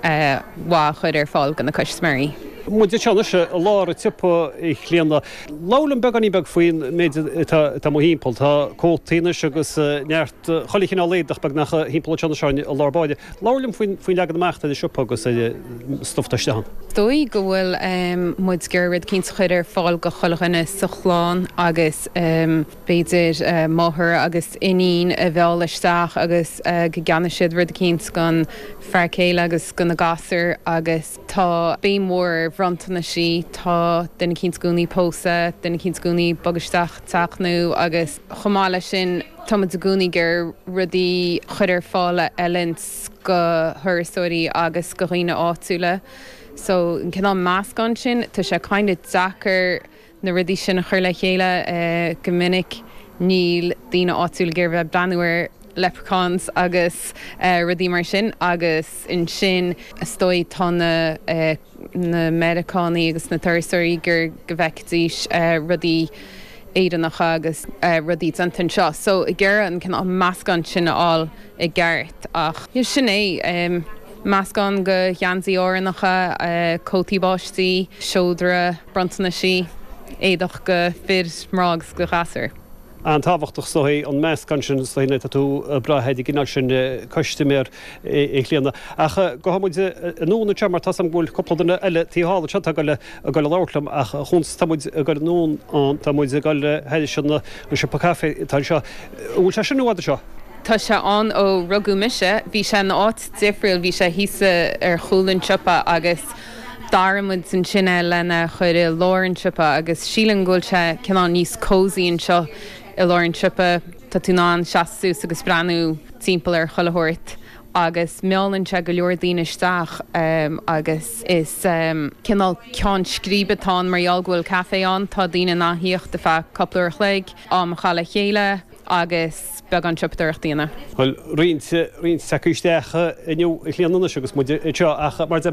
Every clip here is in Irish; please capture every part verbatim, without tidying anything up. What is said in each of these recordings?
mhaith a chur ar fáil do na custaiméirí. Muid anseo i lár an tsiopa, a Chlíona. Labhair liom beagáinín beag faoin méid atá mo thimpeall. Tá cótaí anois agus neart chuile chineál éadach beagnach thimpeall anseo seo i lár báire. Labhair liom faoin faoin leagan amach den siopa agus stuif isteach. Dóigh go bhfuil muid ag iarraidh rud éicint a chur ar fáil do chuile dhuine sa chlann agus b'fhéidir máthair agus iníon a mhealladh isteach agus go gceannóidh siad rud éicint don fear céile agus do na gasúir agus tá béim mhór ar bhronntanais tá duine éicint i gcónaí ag pósadh, duine éicint i gcónaí ag bogadh isteach teach nua agus chomh maith leis sin táimid i gcónaí ag iarraidh rudaí a chur ar fáil a fheileann do thurasóirí agus do dhaoine áitiúla. So an cineál meascán sin tá sé kind of deacair na rudaí sin a chur le chéile go minic níl daoine áitiúla ag iarraidh bheith breathnú ar leprechauns agus rudaí mar sin agus ansin is dóigh tá na na Meiriceánaigh agus na turasóirí gur go bhfeicfidís rudaí Éireannacha agus rudaí déanta anseo. So ag iarraidh an cineál meascán sin a fháil i gceart ach sin é meascán de gheansaithe Árannacha, cótaí báistí, seodra, bronntanais, éadach do fhir mná agus do ghasúir. An-tábhachtach so an meascán sin so tá tú brath ag gcineál sin custaiméir a Chlíona. Ach gabhfaidh muid anonn anseo mar tá go bhfuil cúpla duine eile taobh thall anseo ag dul ag dul labhairt liom ach chuns tá muid ag dul anonn an tá muid ag dul thar sin an siopa caife atá anseo. Bhfuil sé sin i bhfad anseo? Tá sé ann ó rugadh mise, bhí sé in áit difriúil, bhí sé thíos ar chúl an tsiopa agus d'athraigh muid ansin é lena chur i lár an tsiopa agus sílim go bhfuil sé cineál níos cozy anseo i lár an tsiopa tá tú in ann seasamh suas agus breathnú timpeall ar chuile shórt agus meallann sé go leor daoine isteach um, agus is um, cineál ceann scríbe atá ann mar gheall go bhfuil caife ann tá daoine in ann theacht ar feadh cúpla uair a chloig am a chaitheamh le chéile agus beagán siopadóireachta a dhéanamh. Well roinnt roinnt acu isteach inniu a Chlíona agus muid anseo ach mar de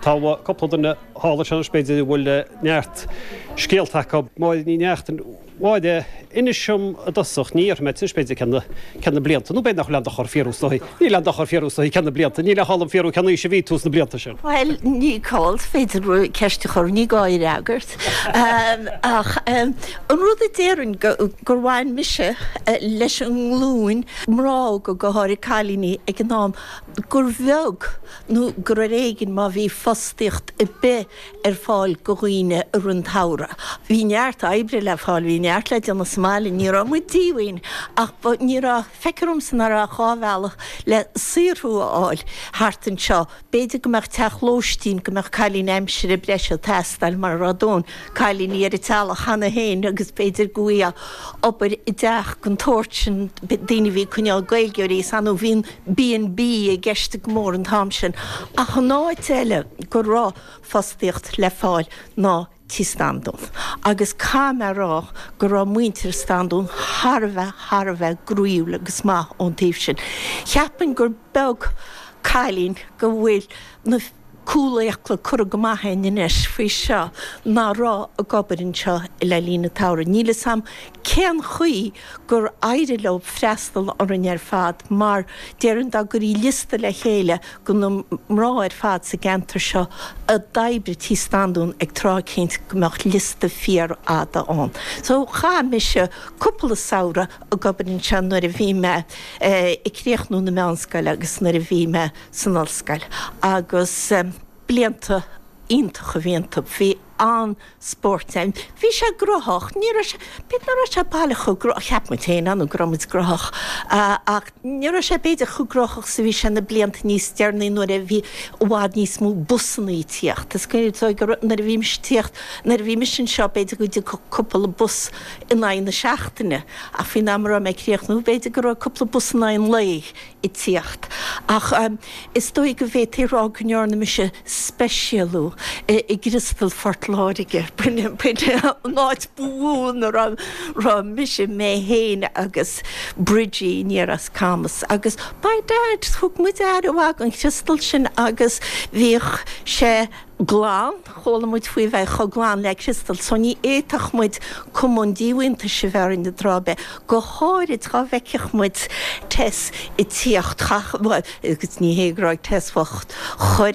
tá cúpla duine thall anseo b'fhéidir bhfuil neart scéalta acu Máire Ní Neachtain Mháire inis dom i dtosach ní ar mé b'fhéidir cén cén na blianta, nó b'fhéidir nach bhfuil dochar fiafraí is níl dochar fiafraí is cén na blianta, níl a chall fiafraí cén aois a bhí tú sna blianta sin. Well ní call féidir ceist a chur ní gá freagairt. ach an rud a déarfainn gur bhain mise leis an nglúin mná go go háirithe cailíní ag an am gur bheag nó gur ar éigean má bhí fostaíocht ar bith ar fáil do dhaoine i rith an tsamhraidh. Bhí neart oibre le fáil bhí neart le déanamh sa mbaile ní raibh muid díomhaoin ach ní raibh feictear domsa nach raibh dhá bhealach le saothrú a fháil thart anseo. B'fhéidir go mbeadh teach lóistín go mbeadh cailín aimsire breise ag teastáil mar rud dón cailíní ar an teallach cheana féin agus b'fhéidir go bhí obair i dteach den tsórt sin daoine bhí coinneáil Gaeilgeoirí san bhí B and B i gceist go mór an t-am sin ach an áit eile go raibh fostaíocht le fáil ná Tí Standún. Agus caithfidh mé a rá go raibh muintir Standún thar a bheith thar a bheith groíúil agus maith ón taobh sin. Cheapfainn gur beag cailín go bhfuil na cúlfhiacla curtha go maith anois faoi seo nach raibh ag obair anseo le linn an tsamhraidh. Níl a fhios agam cén chaoi gur éirigh leo freastal orainn ar fad mar déarfainn dá gcuirfí liosta le chéile de na mná ar fad sa gceantar seo a d'oibrigh Tí Standún ag tráth éicint go mbeadh liosta fíorfhada ann. So chaith mise cúpla samhradh ag obair anseo nuair a bhí mé ag críochnú na meánscoile agus nuair a bhí mé san ollscoil agus blianta iontacha a bhí iontu. Bhí an-spórt ann. Bhí sé gnóthach, ní raibh sé b'fhéidir nach raibh sé baileach chomh gnóthach cheap muid féin ann go raibh muid gnóthach ach ní raibh sé b'fhéidir chomh gnóthach is a bhí sé na blianta níos deireanaí nuair a bhí i bhfad níos mó busanna ag tíocht. Is cuimhin nuair a bhí mise ag tíocht nuair a bhí mise anseo b'fhéidir go dtiocfadh cúpla bus in aghaidh na seachtaine ach faoin am a raibh mé ag críochnú b'fhéidir go raibh cúpla bus in aghaidh an lae ag tíocht. Ach is dóigh go bhféadfaí a rá go ndearna mise speisialú i gCriostal Phort Láirge b'in an áit ba mhó ina raibh mise mé féin agus Bridgie aniar as Camas agus by dad thug muid aire mhaith don Chriostal sin agus bhíodh sé glan chuala muid faoi bheith chomh glan le criostal so ní fhéadfadh muid cuma an díomhaointis a bheith orainn tráth ar bith go háirid dá bhfeicfeadh muid Tess ag tíocht agus ní hé go raibh Tess bhocht chuir